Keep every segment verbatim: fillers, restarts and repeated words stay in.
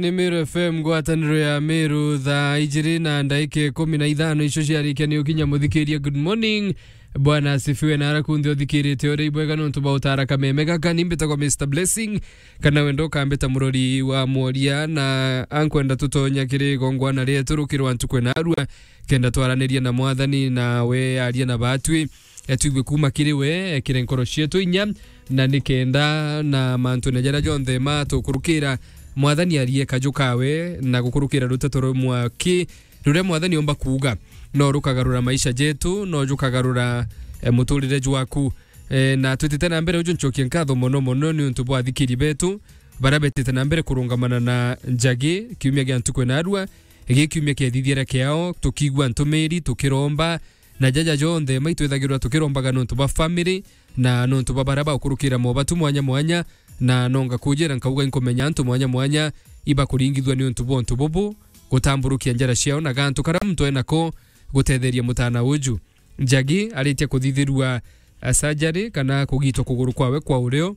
Ni Meru F M, ngwataniro ya Meru, thaa ijiri na ndaika ikumi na ithano icio ciarikia ni ukinya muthikiria. Good morning. Bwana asifiwe, na ara kunthe uthikirite uri ibwega nontu bwa utara kameme gaka. Ni mbitagwa Mister Blessing, kana wenda ukambita murori wa mworia, na ankwenda tutonya kiri igongwana rietu rukirwa ntuku na arua, kenda twaranirie na Mwathani, na we aria na batwi. E, twigue kuuma kiri we, ekire nkoro cietu inya, na nikenda na mantune jaria jonthe ma tukurukira, Mwathani arie kaju kawe, na gukurukira ruteto rumwe ki ruria Mwathani omba kuuga, no rukagarura maisha jetu, no jukagarura, e, muturire jwaku. E, na twitite na mbere, uju ncokie nkatho mono mono ni untu bwa athikiri betu baria betite na mbere kurungamana na Njagi kiumia gia ntuku na arua, gi kiumia kiethithiere kiao, tukigua ntumiri, tukiromba, na jaja jonthe, maitwithagirwa tukirombaga nontu bwa family, na nontu bwa baria baukurukira mobatu mwanya mwanya, na nonga kujira nkauga inkumenya antu mwanya mwanya ibakuringithua ni untu bwa untu bubu, gutamburukia njara ciao na gantu karia muntu enako gutetheria mutana uju. Njagi aritie kuthithirua, a, surgery kana kugitwa kuguru kwawe kwa urio,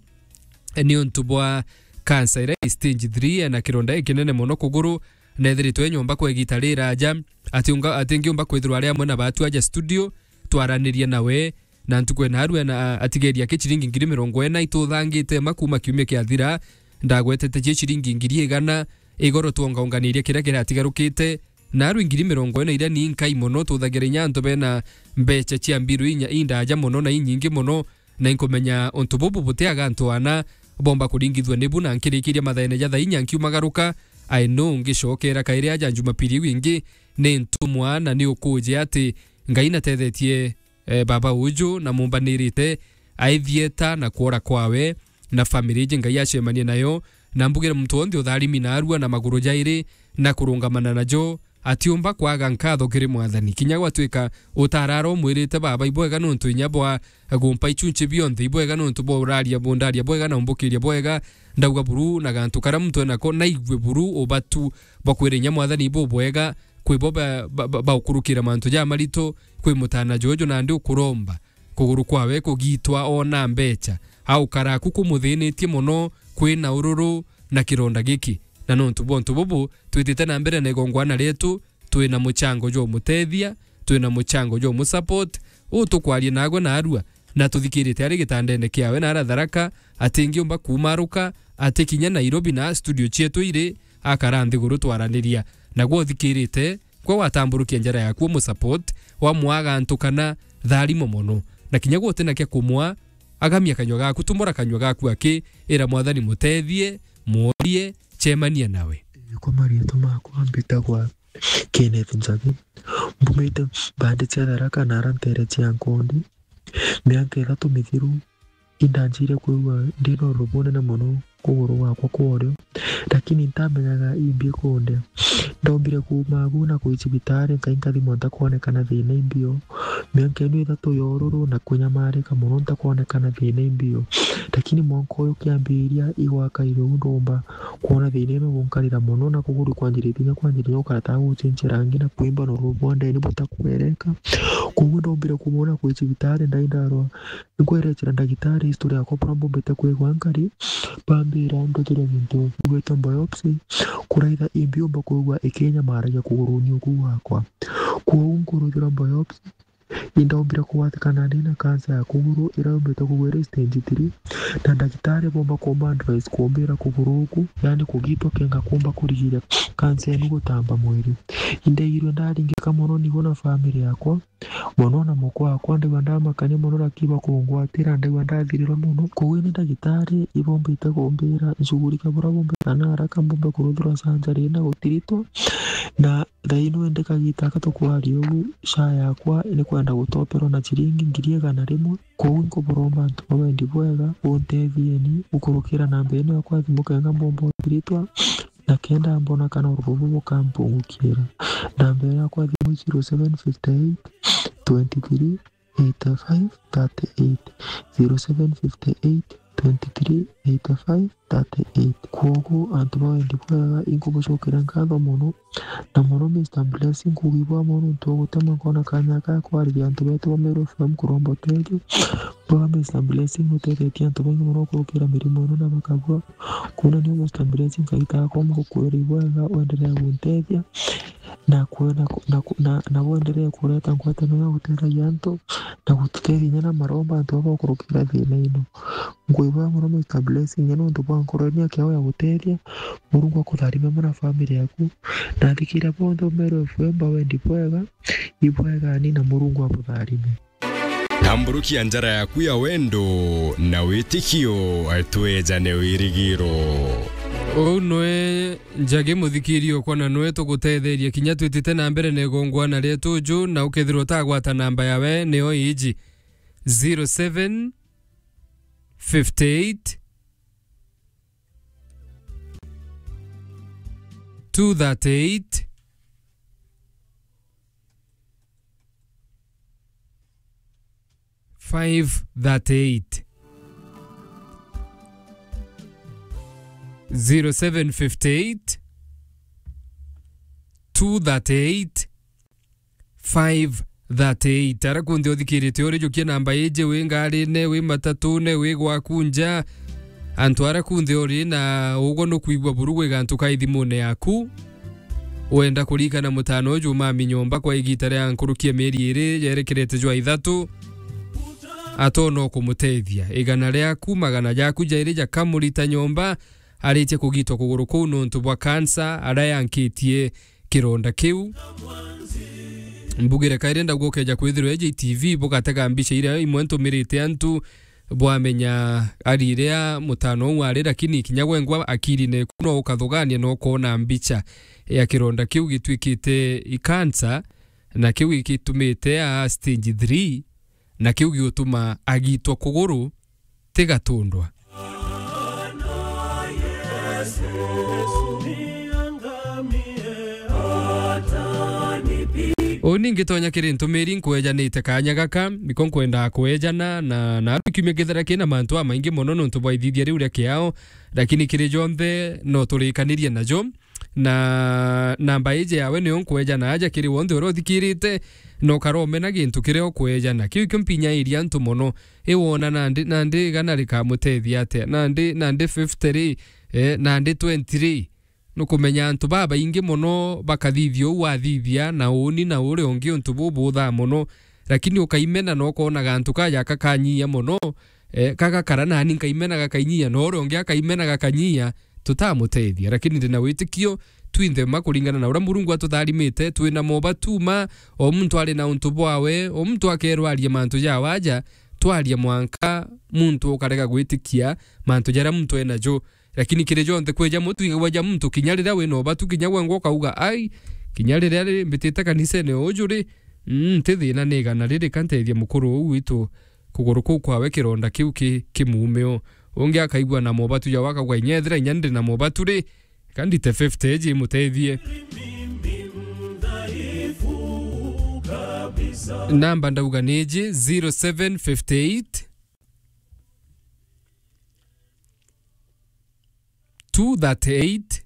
e, ni untu bwa cancer iria i stage three, e, na kironda ikinene mono kuguru, na ethiritwe e nyomba kwa igita riraja, ati unga-, ati ngiumba kwithirwa ari amwe na batu aja studio, twaranirie nawe, na ntuku ena arua na atigeria ki ciringi ngiri mirongo ina ituthangite ma kuuma kiumia kiathira, ndagwetete cie ciringi ngiri igana, igoro twongaunganirie kiria kiratigarukite, na arua ngiri mirongo ina iria ni nkai mono, tuthagira inya antu bena mbecha cia mbiru inya indaja mono na inyingi mono, na inkumenya untu bubu butiaga antu ana bomba kuringithua nibu, na nkirikiria mathaene ja thaa inya nkiumagaruka, I know ngicokera kairi aja Jumapili iu ingi ni ntumwa, na ni ukuje ati Ngai natethetie, e, baba uju na mumbanirite aithieta na kwora kwawe, na family iji Ngai acemanie nayo, na mbugire muntu wonthe utharimi na arua na maguru jairi na kurungamana najo, atiumba kwaga nkatho kiri Mwathani. Kinya gwatuika utarara umwirite baba ibwega nontu inya bwa gumpa ichunchi bionthe, ibwega nontu bwa uraria bundaria bwega na umbukiria bwega, ndauga buru na gantu karia muntu enako, naigue buru ubatu bwa kwira inya Mwathani bubwega, kwi bo ba-, ba-, ba-, baukurukira mantu jamaritu, kwi mutana juju nandi ukuromba kuguru kwawe kugitwa ona mbecha, au karaku kumuthinitie mono, kwina ururu na kironda giki. Na nontu bwa untu bubu, twitite na mbere na igongwana rietu, twina muchango jwa umutethia, twina muchango jwa umusupport, uu tukwaria nagwe na arua, na tuthikirite ari gitandene kiawe na ara Tharaka, atingiumba kuumaruka, ati kinya Nairobi na studio cietu iri, akara nthiguru twaraniria. Nagwe uthikirite, gwe watamburukia njara yaku umusupport, wamwaga antu kana tharimo mono. Na kinya gwe utina kia kumwa, agamia kanyua gaku, tumura kanyua gaku aki, ira Mwathani mutethie, mworie, cemania nawe. Kwa marietwa makwa mbitagwa Kenneth Njagi. Mbumite bandi cia Tharaka na ara ntere cia Nkondi. Miaka ithatu mithiru, indanjire kwigua ndina ururu bunene mono kuguru gwakwa kwa urio, lakini ntamenyaga imbi kundia. Ndombire kuuma agu na kwi cibitari, nkai nkathimwa ntakwonekana thina imbio. Miaka ino ithatu ya ururu na kunyamarika mono ntakwonekana thina imbio. Lakini mwanka uyu kiambiria igwakaire uu ndomba kwona thina ino gunkarira mono na kuguru kwanjiritie kinya kwanjiritie gukara ta gucenjia rangi na kwimba na ururu bwa ndeni butakwereka. Koguo ndombire kumwona kwi cibitari ndai ndarwa. Nkwerecera ndagitari history yakwa buria mbumbite kwigua nkari, bambira nduthirwe gintu gigwitwa biopsy, kuraitha imbiumba kwigua ikinyamaragia kuguruni uku gwakwa. Kwou nkuruthirwa biopsy, indaombire kugwatikana ndina cancer ya kuguru iria yumbite kugwa iri stage three, na ndagitari bomba kumba advice kumbira kuguru uku, yani kugitwa kenga kumba kurigiria cancer inu gutamba mwiri. Indaigirwe ndaringika mono nigo na family yakwa, mono na mukwa wakwa, ndaigua ndamakania mono, lakini bakungwatira, ndaigua ndathirirwe mono. Koguo ni ndagitari ibombite kumbira nshughulike buria bumbite na haraka mbumbe kuruthirwa surgery na gutiritwa, na thaa ino indi kagita aka tukwaria ugu, SHA yakwa ni kwenda gutoperwa na ciringi ngiri igana rimwe. Koguo nkuburomba antu ba wendi bwega, buntethieni gukurukira namba ino yakwa ya thimu kenga mbomba utiritwa, na kenda mbona kana ururu bubu bukampungukira. Namba ino yakwa ya thimu i zero seven fifty eight, twenty three, eighty five, thirty eight, zero seven fifty eight, twenty-three, eighty-five, thirty-eight. Kwogu antu ba wendi bwega, inkubucokeria nkatho mono, na mono Mister Blessing, kuuga ibwega mono nontu bwa gutema nkona kanya ga kwariria antu betu ba Meru F M kuromba uteethio. Bwega Mister Blessing, nutethetie antu baingi mono kurukira mirimo ino na bakabua. Kwou nio Mister Blessing, Ngai takomba gukwira ibwega, wendelee guntethia. Na kwe-, na ku-, na ku-, na, na wendelee kureta ngwataniro ya gutetheria antu, na gututethia inya na maromba antu baba bakurukira thina ino. Ngwibwega mono Mister Blessing, inya nontu bwa nkoro ino yaku ya gutethia. Murungu akutharime mono na family yaku. Na athikira bonthe ba Meru F M ba wendi bwega, ibwegani na Murungu abutharime. Tamburukia njara yaku ya wendo na witikio, twejane wirigiro. Uu nwe Njagi muthikiri okwa, na nwe tugutetheria kinya twitite na mbere na igongwana rietu ju, na ukethirwa utagwata namba yawe, nio iji: zero seven fifty eight, two thirty eight, five thirty eight. Zero seven fifty eight, two thirty eight, five thirty eight. Ara kunthe uthikirite uri, jukia namba iji, wi ngarine, wi matatune, wi gwaku nja, antu ara kunthe uri na ugwe nukwigua buru gwi gantu ka ithimune yaku. Wenda kurikana mutano uju mami nyomba kwa igita ria nkuruki ya mieri iri jerekerete jwa ithatu, atona ukumutethia. Igana riaku, magana jaku jairi jakamurita nyomba, aritie kugitwa kuguru kuu nontu bwa kansa, aria yankitie kironda kiu. Mbugire kairi ndauga ukeja kwithirwa eji T V bugatega mbica iria imwe ntumirite antu bwamenya ari iria mutano uu ari, lakini kinya gwengwa akirine ku no ukathugania na ukoona mbica ya kironda kiu gitwikite ikansa, na kiu gigitumite a stage three, na kiu giutuma agitwa kuguru tigatundwa. Uu ningi tonya kiri ntumiri nkwejanite kanya gaka, niko nkwendaa kwejana na, na kiumia kithera kina mantu amaingi mono nontu bwa ithithia riu ria kiao, lakini kiri jonthe no turikanirie najo. Na namba iji yawe niyo nkweja na aja kiri wonthe uria uthikirite, na ukaromena gintu kiria ukweja, na kiu ikio mpinyairia antu mono. I wona nandi, nandi igana rikamutethia atia? Nandi, nandi fifty ri, eh, nandi twenty ri? Nukumenya antu babaingi mono bakathithia uu wathithia, na uuni na uria ungi untu bubuthaa mono, lakini ukaimena na ukoona gantu kaja kakanyia mono, eh, kagakara, nani nkaimena gakainyia, na uria ungi akaimena gakanyia, tutamutethia. Lakini ndina witikio twinthe mma kuringana na uria Murungu atutharimite, twina mobatu ma, o muntu ari na untu bwawe, o muntu akerwa arie mantu jawe aja, twaria mwanka muntu ukarega gwitikia mantu jaria muntu enajo. Lakini kiri jonthe kweja muntu, igagwa ja muntu, kinya riria wina ubatu, kinya gwengwa ukauga, "Ai, kinya riria ri mbitite kanisene uju ri, mm, nti thina ni igana riri, ka ntethie mukuru uu witu kuguru kuu kwawe kironda kiu ki, kimuume o." Ungi akaigua na mobatu jawe akauga, "Inya ethira inya ndi na mobatu ri, ka ndite fifty eji imutethie." Namba ndauga ni iji, zero seven fifty eight, two thirty eight,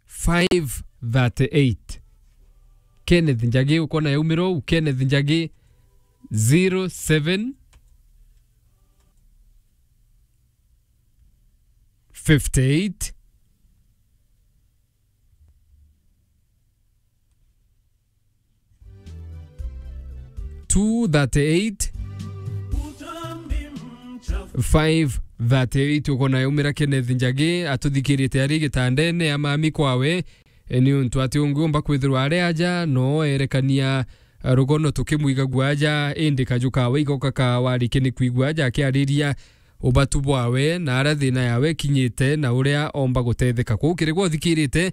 five thirty eight. Kenneth Njagi, ukona yaumira uu, Kenneth Njagi, zero seven fifty eight, two thirty eight, five thirty eight. Ukona yaumira Kenneth Njagi atuthikirite ari gitandene ya mami kwawe, e, ni untu ati ungiumba kwithirwa ari aja, no erekania, e, rugono tukimwigagua aja, indi kaju kawe igoka kawarikia ni kwigua aja akiariria ubatu bwawe na aria thina yawe ikinyite na uria omba gutetheka. Kwou kiri gwa uthikirite,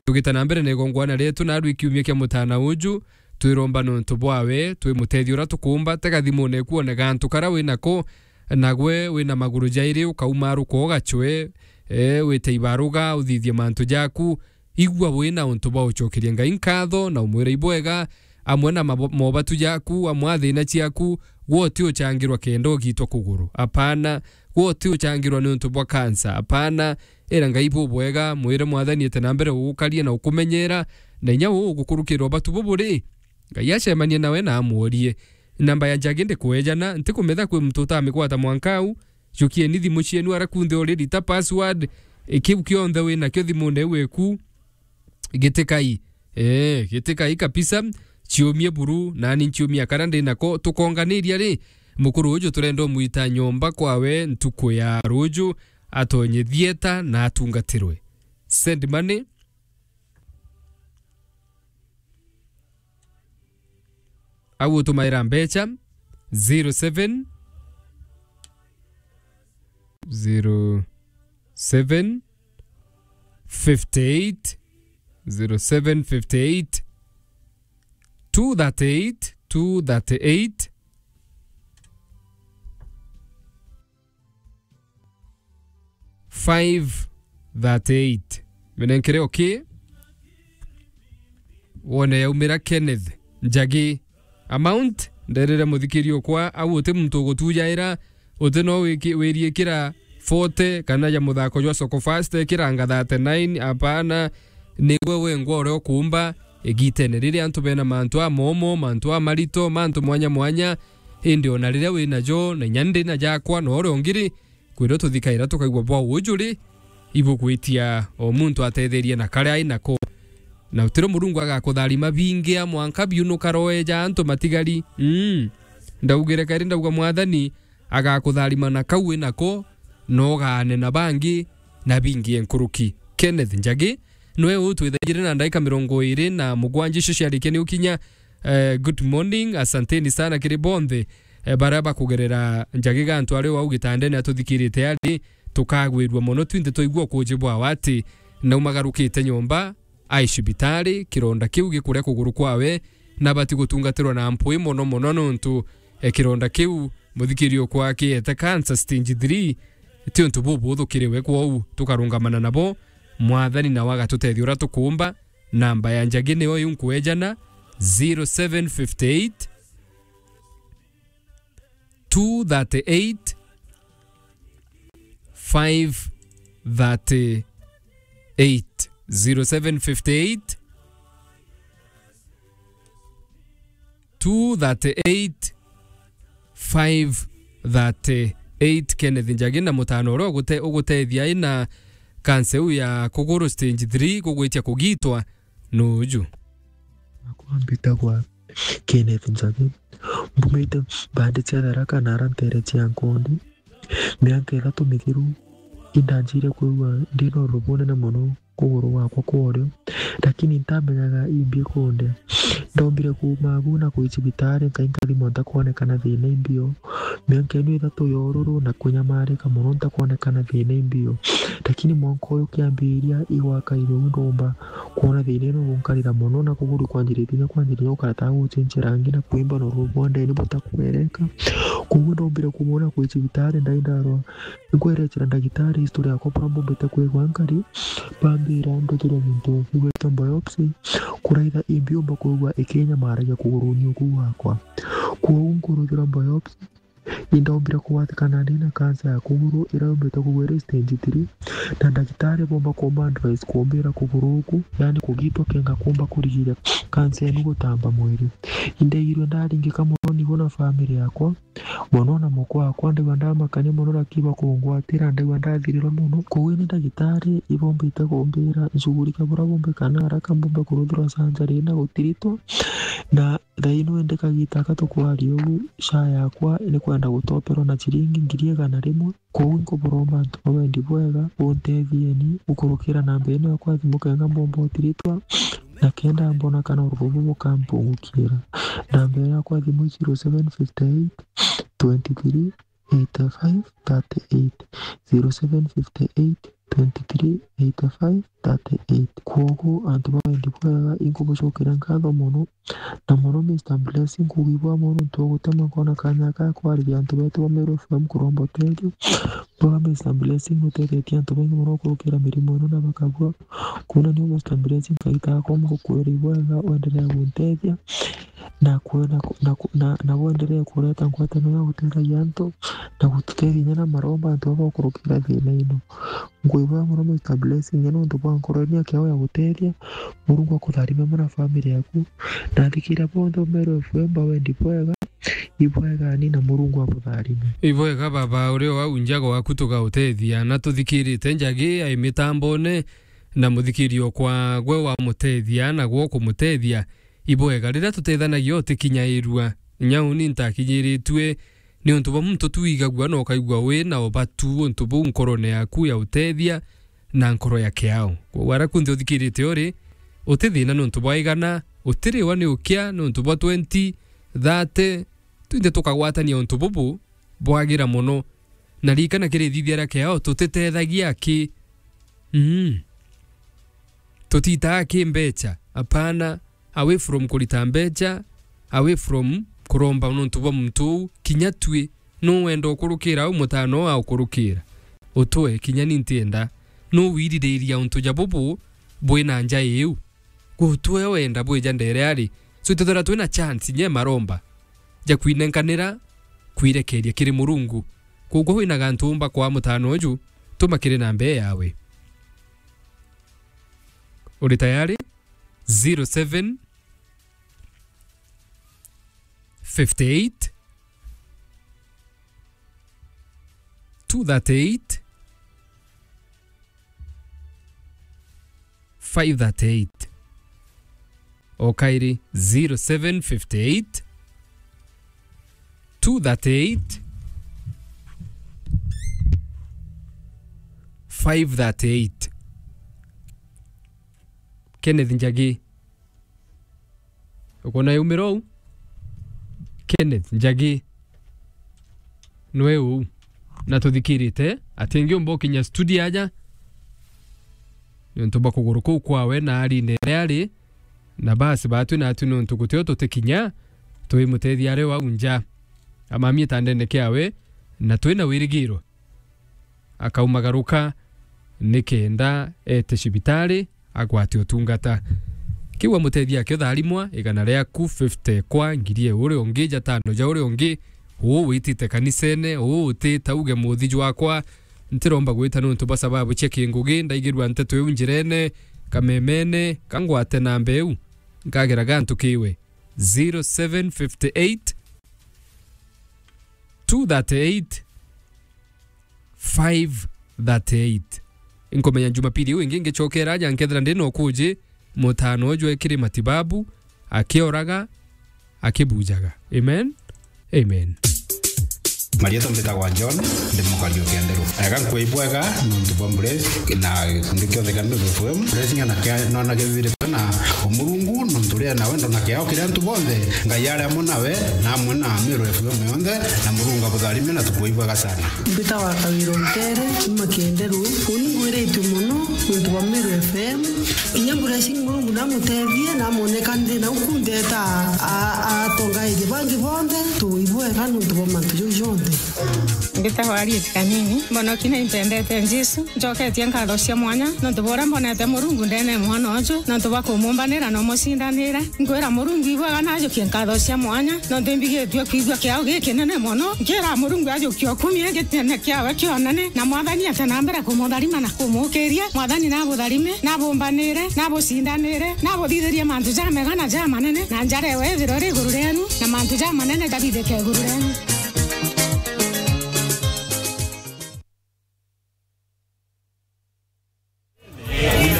tugita na mbere na igongwana rietu naarua ikiumia kia mutana uju, twiromba nontu bwawe, twimutethia uria tukuumba, tega thimune eku one gantu karia winako, nagwe wina maguru jairi ukauma ruko ugacwe, e, wite ibaruga, uthithie mantu jaku, igua wina untu bwa ucokeria Ngai nkatho na umwira ibwega, amwe na mabo-, mobatu jaku, amwe a thina ciaku, gwe uti uchangirwa kenda ugitwa kuguru. Apana, gwe uti uchangirwa ni untu bwa kansa. Apana, era Ngai bubwega, mwire Mwathani ete na mbere ugukaria na ukumenyera, na inya uu ugukurukira ubatu buburi. Ngai acemanie nawe na amworie. Namba ya Njagi ndikuejana, ntikumetha kwi muntu utamikwata mwanka au. Jukieni thimu cienu ara kunthe already ta password. E, kiu kionthe winakio thimune iu eku, gitikai. Ee, gitikai kabisa. Ciumie buru, nani nciumia kara ndi nako. Tukonganiria ri, mukuru uju turenda umwita nyomba kwawe ntuku ya ruju, atonye thieta na atungatirwe. Send money. Au utumaira mbecha, zero seven, zero seven, fifty eight, zero seven fifty eight, two thirty eight, two thirty eight, five thirty eight. Minenkere okay. Wone yaumira Kenneth Njagi. Amount, nderire muthikiri okwa, au uti muntu ugutujaira, uti no wiki-, wiriikira forty, kana ja muthako jwa Soko Fast, ekiranga thirty nine, apana, nigwe wengwa uria ukuumba, igitene riri antu bena mantu amomo, mantu amarito, mantu mwanya mwanya, indi ona riria winajo, na inya ndi na jakwa, na uria ungi ri, kwirwo tuthikaira tukaigua bwa uju ri, ibugwitia o muntu atetherie na karia ai nako. Na utiro Murungu agakutharima bingi a mwanka biunuka roe ja antu matigari. Mm. Ndaugire kairi ndauga Mwathani agakutharima na kau wi nako, na ugaane na bangi na bingi enkuruki. Kenneth Njagi, nwe uu twithaijire na ndaika mirongo iri na mugwanja icio ciarikia ni ukinya. Eh, good morning, asanteni sana kiri bonthe, eh, baria bakugerera Njagi gantu ari wau gitandene atuthikirite ari, tukagwirua mono twinthe twaigua ukuji bwawe ati naumagarukite nyomba, ai cibitari, kironda kiu gikuria kuguru kwawe, na abati gutungatirwa na mpwi mono mono nontu, eh, kironda kiu muthikiri okwa kiete cancer stage three, ti untu bubuthu kiri we, kwou tukarungamana nabo, Mwathani nawe agatutethia uria tukuumba. Namba ya Njagi niyo iu nkuejana, zero seven fifty eight, two thirty eight, five thirty eight. Zero seven fifty eight, two thirty eight, five thirty eight. Kenneth Njagi na mutano uria ugute-, ugutethia ina kansa iu ya kuguru stage three kugwitia kugitwa nuju. Akwa mbitagwa Kenneth Njagi. Mbumite mbandi cia Tharaka na ara ntere cia Nkondi. Miaka ithatu mithiru, indanjire kwigua ndi na ururu bunene mono kuguru gwakwa kwa urio, lakini ntamenyaga imbi ikundia. Ndombire kuuma agu na kwi cibitari, nkai nkathimwa ntakwonekana thina imbio. Miaka ino ithatu ya ururu na kunyamarika mono ntakwonekana thina imbio. Lakini mwanka uyu kiambiriria igwaka irio ndomba kwona thina ino gunkarira mono na kuguru kwanjiritie kinya kwanjiriria gukara ta gucenjia rangi na kwimba na ururu bwa ndeni butakwereka. Koguo ndombire kumwona kwi cibitari ndai ndarwa. Nkwerecera ndagitari history yakwa bura mbumbite kwigua nkari, bambira nduthirwe gintu kigwitwa biopsy, kuraitha imbi umba kwigua ikinyamaragia kuguruni uku gwakwa. Kwou nkuruthirwa biopsy, indaombire kugwatikana ndi na kansa ya kuguru iria yumbite kugwa iri stage three, na ndagitari bomba kumba advice kumbira kuguru uku, yani kugitwa kenga kumba kurigiria kansa inu gutamba mwiri. Indaigirwe ndaringika mono nigo na family yakwa, mono na mukwa wakwa, ndaigua ndamakania mono, lakini bakungwatira, ndaigua ndathirirwa mono. Koguo ni ndagitari ibombite kumbira nshughulike bura bumbe kana haraka mbumbe kuruthirwa surgery na gutiritwa. Na thaino indi kagita aka tukwaria ugu, SHA yakwa ni kwenda gutoperwa na ciringi ngiri igana rimwe. Koguo nkuburomba antu ba wendi bwega, buntethieni gukurukira namba ino yakwa ya thimu kenga mbomba utiritwa, na kenda mbona kana ururu bubu bukampungukira. Namba ino yakwa ya thimu i zero seven fifty eight, twenty three, eighty five, thirty eight, zero seven fifty eight, twenty three, eighty five, thirty eight. Kwogu antu ba wendi bwega, inkubucokera nkatho mono, na mono Mister Blessing, kugibwa mono ntu wa gutema nkona kanya ka kwariria antu betu ba Meru F M kuromba uteethio. Baba Mister Blessing, nutethetie antu baingi mono kurukira mirimo ino na bakabua. Kwona niu Mister Blessing, Ngai takwa mukukwira ibwega, wenderea guntethia. na kwe-, na ku-, na ku-, na, na bwenderee kureta ngwataniro ya gutetheria antu, na gututethia inya na maromba antu baba gukurukira thina ino. Nkuibwega mono, Mister Blessing, inya nontu bwa nkoro ino ya kiao ya gutethia. Murungu akutharime mono na family yaku, na athikiria bonthe ba Meru F M bawendi bwega. Ibwega ni na Murungu abutharime. Ibwega baba, uri o au nja gwaku tugautethia, na tuthikirite njagi ai mitambone, na muthikirio kwa gwe wamutethia, na gwe ukumutethia. Ibwega riria tutethanagia utikinyairua. Inya uni ntakinyiritue, ni untu bwa muntu tu wigagua na ukaigua wi na ubatu untu buu nkorone yaku ya utethia na nkoro ya kiao. Kwou ara kunthe uthikirite uri, uti thina ni untu bwa igana, utiriwa ni ukia ni untu bwa twenty, thirty, twinthe tukagwatania untu bubu bwagira mono. Na ririkana kiri ithithia ria kiao tutitethagia aki. Mm. Tutitaa ki mbecha, apana, away from kurita mbecha, away from kuromba nontu bwa muntu uu, kinya tui, nu wenda ukurukira au mutano au aukurukira? Utwe, kinya ni ntienda. Nu wiririria untu ja bubu bwina nja iu? Gutwe wenda bwija ndere ari. So itethira twina chance nye maromba ja kwinenkanira, kwirekeria kiri Murungu. Koguo wina gantu umba kwa mutano uju, tuma kiri namba ii yawe. Uri tayari? Zero seven, fifty eight, two thirty eight, five thirty eight. O kairi, zero seven fifty eight, two thirty eight, five thirty eight. Kenneth Njagi. Ukona yaumira uu? Kenneth Njagi. Nwe uu. Na tuthikirite, atingiumba ukinya studio aja. Niuntu bwa kuguru kuu kwawe na arine iria ari, na basi batwi natwi niuntu gutio tutikinya, twimutethia ari o au nja. Amamie tandene kiawe, na twina wirigiro akaumagaruka nikenda ete cibitari agwate utungata. Kiu amutethia akio tharimwa, igana riaku, fifty kwa ngiri e uria ungi, jatano ja uria ungi, uu witite kanisene, uu utita uge muthi jwakwa, ntiromba gwita niuntu bwa sababu cia kingugi, ndaigirua nteto iu njirene, kamemene, kangwate namba iu, nkagera gantu kiwe. Zero seven fifty eight, two thirty eight, five thirty eight. Inkumenya Jumapili iu ingi ngicokera aja nkethira ndi na ukuji, mutano uju ekiri matibabu, akioraga, akibujaga. Amen. Amen. Marietwa mbitagwa John, ndi mukari o Kienderu. Ega nkwibwega nontu bwa mbure na gikundi kionthe kia Meru F M. Blessing na kia nona kithirite na umurungu nontu ria na wendo na kiao kiria antu bonthe. Ngai ari amwe nawe na amwe na Meru F M yonthe, na Murungu abutharime na tukwibwega sana. Mbitagwa Kawira Ntere, kuma Kienderu. Uni ngwiritue mono nontu bwa Meru F M. Inya Blessing Murungu namutethie, namwoneka nthi na uku ndeta a-, a-, atongairie bangi bonthe, tuibwega nontu bwa mantu jau jonthe. Mbitagwa Harriet Kanini, mbonoki na impendete Jesu. Njoketie nkatho cia mwanya nontu bwa uria mbonete Murungu ndene mwana uju, nontu bwa kumumbanira na umucindanira. Nkwira Murungu ibwega na ajukie nkatho cia mwanya, nontu imbigitue kwigua kiao gikinene mono. Nkira Murungu ajukie ukumie gitene kiawe kionene, na Mwathani ate na mbere kumutharima na kumukiria. Mwathani nabutharime, nabumbanire, nabucindanire, nabuthithirie mantu jamega na jamanene, na njara ewe ithirwe iri iguru rienu, na mantu jamanene jathithike iguru rienu.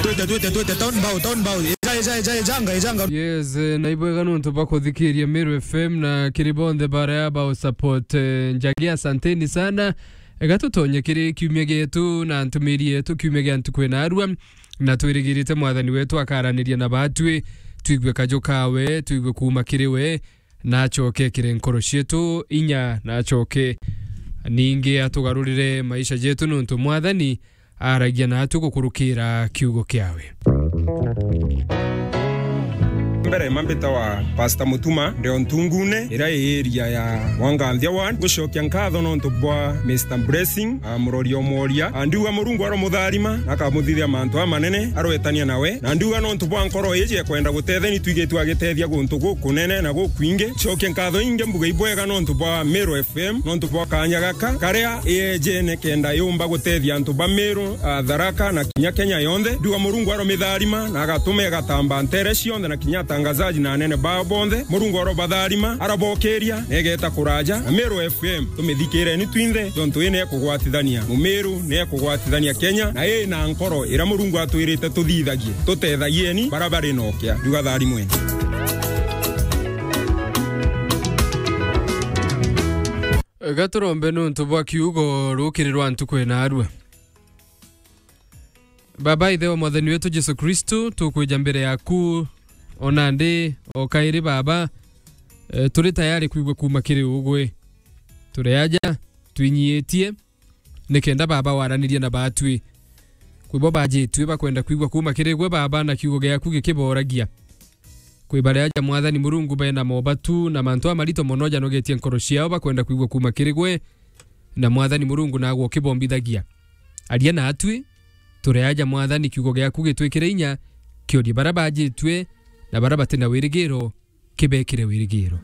Twite, twite, twite, town bow, town bow. Eja, eja, eja, ejanga, ejanga. Yes, eh, na ibwega nontu bwa kuthikiria Meru F M na kiri bonthe baria ba support, eh, Njagi, asanteni sana. Ega tutonye kiri kiumia gietu na ntumiri yetu kiumia gia ntuku ina arua, na twirigirite Mwathani wetu akaraniria na batwi, twigue kaju kawe, twigue kuuma kiri we, na acoke ekire nkoro cietu inya, na acoke ningi atugarurire maisha jetu, nontu Mwathani aragia natu gukurukira kiugo kiawe. Mbere mambita wa Pastor Mutuma, ndeo Ntungune, ira area ya Mwanganthia Ward. Gucokia nkatho nontu bwa Mister Blessing, a, murori o mworia. A, ndiuga Murungu aromutharima, na akamuthithia mantu amanene, arwetania nawe. Na ndiuga nontu bwa nkoro iji ekwenda gutetheni twigitwe agitethia guntu gukunene na gukwingi. Cokia nkatho ingi mbuga ibwega nontu bwa Meru F M, nontu bwa kanya gaka, karia iyejene kenda yumba gutethia antu ba Meru, a, Tharaka na kinya Kenya yonthe. Ndiuga Murungu aromitharima na agatuma igatamba ntere cionthe na kinya atangazaji na anene bao bonthe. Murungu arobatharima, arabokiria, na igeta kuraja. Na Meru F M, tumithikireni twinthe, jontu ii ni ekugwatithania Mumiru, ni ekugwatithania Kenya, na ii na nkoro ira Murungu atwirite tuthithagie. Tutethagieni bara bari na ukia. Ndiuga tharimweni. Gaturombe nuntu bwa kiugo rukiri rwa ntuku ina arua. Baba, Ithe wa Mwathani wetu Jesu Kristu, tukwija mbere yaku o nandi o kairi, Baba, e, turi tayari kwigua kuuma kiri ugwe. Turi aja, twinyiitie, nikenda, Baba, waranirie na batwi. Kwi bo bajitue bakwenda kwigua kuuma kiri gwe, Baba, na kiugo giaku gikiboragia. Kwi baria aja, Mwathani Murungu, bena mobatu na mantu amarito mono janogetie nkoro ciao, bakwenda kwigua kuuma kiri gwe, na Mwathani Murungu nagwe ukibombithagia. Aria natwi, turi aja, Mwathani, kiugo giaku gitwikire inya, kiorie baria bajitue na baria bati na wirigiro, kibekire wirigiro.